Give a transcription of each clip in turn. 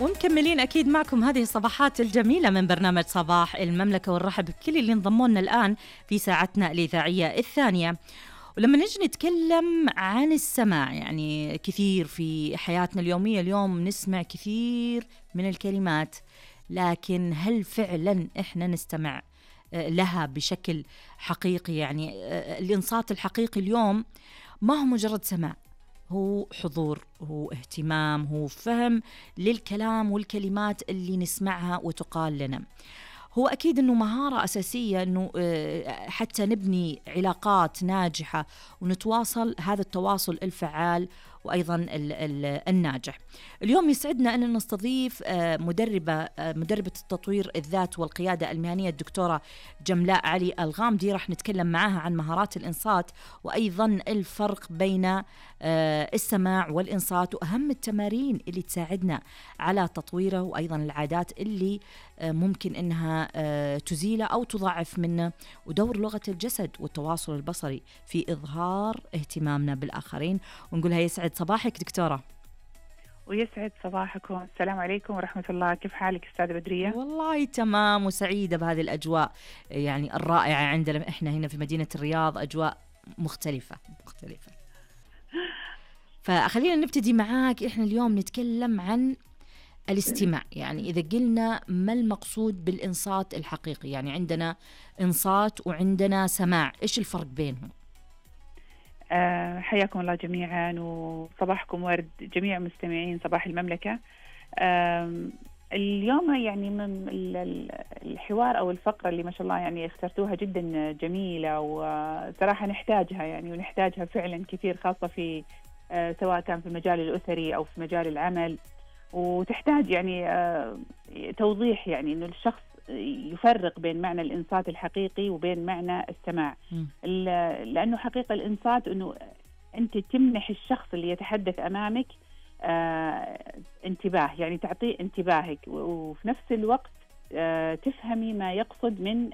ومكملين أكيد معكم هذه الصباحات الجميلة من برنامج صباح المملكة، ونرحب بكل اللي انضموا لنا الآن في ساعتنا الإذاعية الثانية. ولما نجي نتكلم عن السماع، يعني كثير في حياتنا اليومية اليوم نسمع كثير من الكلمات، لكن هل فعلا إحنا نستمع لها بشكل حقيقي؟ يعني الإنصات الحقيقي اليوم ما هو مجرد سماع، هو حضور، هو اهتمام، هو فهم للكلام والكلمات اللي نسمعها وتقال لنا. هو أكيد أنه مهارة أساسية أنه حتى نبني علاقات ناجحة ونتواصل، هذا التواصل الفعال وأيضا الناجح. اليوم يسعدنا أن نستضيف مدربة التطوير الذات والقيادة المهنية الدكتورة جملاء علي الغامدي. راح نتكلم معها عن مهارات الإنصات وأيضا الفرق بين السماع والإنصات وأهم التمارين اللي تساعدنا على تطويره، وأيضا العادات اللي ممكن أنها تزيله أو تضاعف منه، ودور لغة الجسد والتواصل البصري في إظهار اهتمامنا بالآخرين. ونقولها يسعد صباحك دكتورة. ويسعد صباحكم. السلام عليكم ورحمة الله. كيف حالك أستاذة بدرية؟ والله تمام وسعيدة بهذه الأجواء يعني الرائعة. عندنا إحنا هنا في مدينة الرياض أجواء مختلفة. فخلينا نبتدي معاك. إحنا اليوم نتكلم عن الاستماع. يعني إذا قلنا ما المقصود بالإنصات الحقيقي؟ يعني عندنا إنصات وعندنا سماع، إيش الفرق بينهم؟ حياكم الله جميعا وصباحكم ورد جميع مستمعين صباح المملكة. اليوم يعني من الحوار أو الفقرة اللي ما شاء الله يعني اخترتوها جدا جميلة، وصراحة نحتاجها يعني، ونحتاجها فعلا كثير، خاصة في سواء كان في المجال الأسري أو في مجال العمل. وتحتاج يعني توضيح، يعني إنه الشخص يفرق بين معنى الإنصات الحقيقي وبين معنى السماع. لأنه حقيقة الإنصات أنه أنت تمنح الشخص اللي يتحدث أمامك انتباه، يعني تعطيه انتباهك، وفي نفس الوقت تفهمي ما يقصد من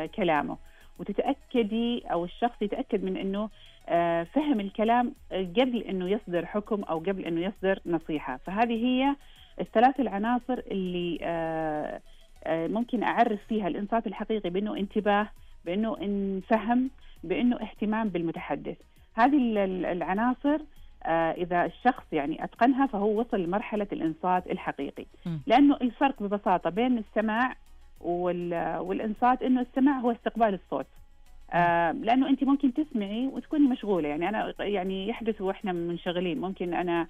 كلامه، وتتأكدي أو الشخص يتأكد من أنه فهم الكلام قبل أنه يصدر حكم أو قبل أنه يصدر نصيحة. فهذه هي الثلاث العناصر اللي ممكن أعرف فيها الإنصات الحقيقي، بأنه انتباه، بأنه فهم، بأنه اهتمام بالمتحدث. هذه العناصر إذا الشخص يعني أتقنها فهو وصل لمرحلة الإنصات الحقيقي. لأنه الفرق ببساطة بين السماع والإنصات أنه السماع هو استقبال الصوت. لأنه أنت ممكن تسمعي وتكوني مشغولة، يعني أنا يعني يحدث وإحنا منشغلين، ممكن أنا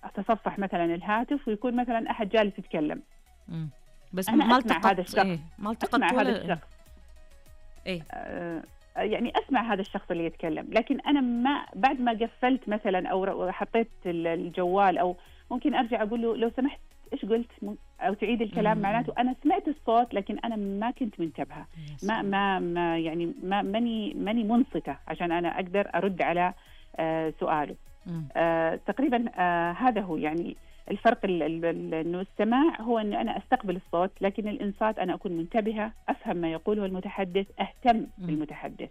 أتصفح مثلا الهاتف ويكون مثلا أحد جالس يتكلم، بس أنا أسمع هذا الشخص، ما التقطت هذا الشخص، يعني أسمع هذا الشخص اللي يتكلم، لكن أنا ما بعد ما قفلت مثلا أو حطيت الجوال، أو ممكن أرجع أقول له لو سمحت إيش قلت، أو تعيد الكلام. معناته أنا سمعت الصوت لكن أنا ما كنت منتبهة، ما يعني ماني منصتة عشان أنا أقدر أرد على سؤاله. تقريبا هذا هو يعني الفرق. إنه السماع هو إن أنا أستقبل الصوت، لكن الإنصات أنا أكون منتبهة، أفهم ما يقوله المتحدث، أهتم بالمتحدث.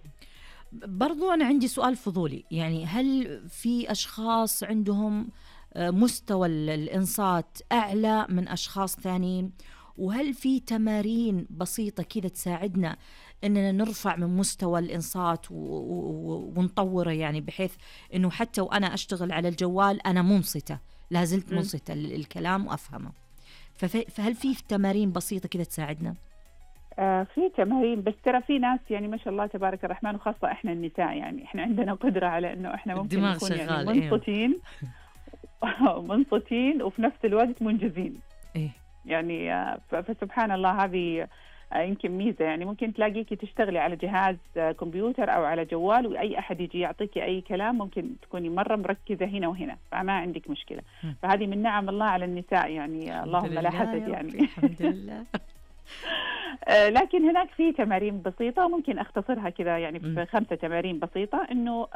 برضو أنا عندي سؤال فضولي، يعني هل في أشخاص عندهم مستوى الإنصات أعلى من أشخاص ثانيين؟ وهل في تمارين بسيطة كذا تساعدنا أننا نرفع من مستوى الإنصات ونطوره، يعني بحيث أنه حتى وأنا أشتغل على الجوال أنا منصتة، لازلت منصتة الكلام وأفهمه؟ فهل في تمارين بسيطة كذا تساعدنا؟ في تمارين، بس ترى في ناس يعني ما شاء الله تبارك الرحمن، وخاصة إحنا النساء يعني إحنا عندنا قدرة على إنه إحنا ممكن نكون يعني منصتين منصتين وفي نفس الوقت منجزين. يعني فسبحان الله، هذه يمكن ميزة. يعني ممكن تلاقيكي تشتغلي على جهاز كمبيوتر أو على جوال، وأي أحد يجي يعطيكي أي كلام ممكن تكوني مرة مركزة هنا وهنا، فما عندك مشكلة. فهذه من نعم الله على النساء، يعني اللهم لا حسد يعني. الحمد لله. لكن هناك في تمارين بسيطة وممكن أختصرها كذا يعني في 5 تمارين بسيطة، إنه